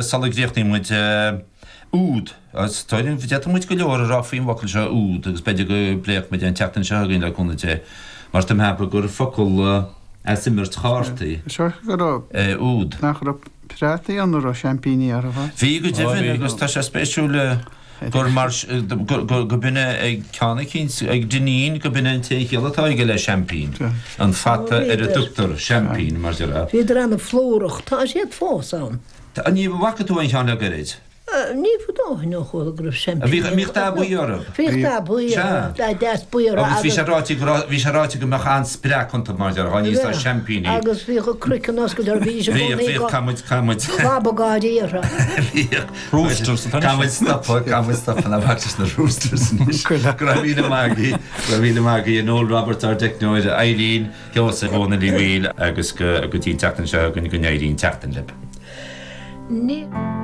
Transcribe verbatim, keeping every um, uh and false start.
Sula gcríochnaíonn muid úd, agus d'fhéadfadh muid go leor a rá faoin bhfocal seo úd agus b'fhéidir go bpléifidh muid é an tseachtain seo chugainn le cúnamh Dé, mar tá mé ag ceapadh gur focal as imirt chártaí Seo go raibh é úd. Nach raibh preátaí ann a raibh seaimpíní orthu? Bhí go deimhin agus tá sé spéisiúil gur mar go b'in é ag ceann eicínt, ag Dineen go b'in é an t-aon chiall atá aige le seaimpín, an fata ar a dtugtar seaimpín mar déarfá. Bhíodar an-phlúrach, tá siad fós ann. Ní bhfaca tú aon cheann le gairid? Ní fada ó shin ó chuala go raibh seaimpíní. Bhíodh, bhíodh dath buí orthu. Bhíodh dath buí orthu, dath deas buí orthu agus. Agus bhí sé ráite go raibh, bhí sé ráite go mbeadh an-spreac iontu mar déarfá, níos seaimpíní. Agus bhíodh a craiceann oscailte orthu, bhídís i gcónaí Bhíodh, bhíodh, caithfidh muid, caithfidh muid. Clabadh gáirí orthu. Bhíodh. Roosters atá anois. Caithfidh muid stopadh, caithfidh muid stopadh, ná bac leis na roosters anois. Go raibh míle maith agaibh, go raibh míle maith agaibh, Noel Roberts, ár dteicneoir, Eileen, Sheosaimh Dhónaill Uí Bhaoill agus go dtí an tseachtain seo chugainn go n-éirí an tseachtain libh. Ní.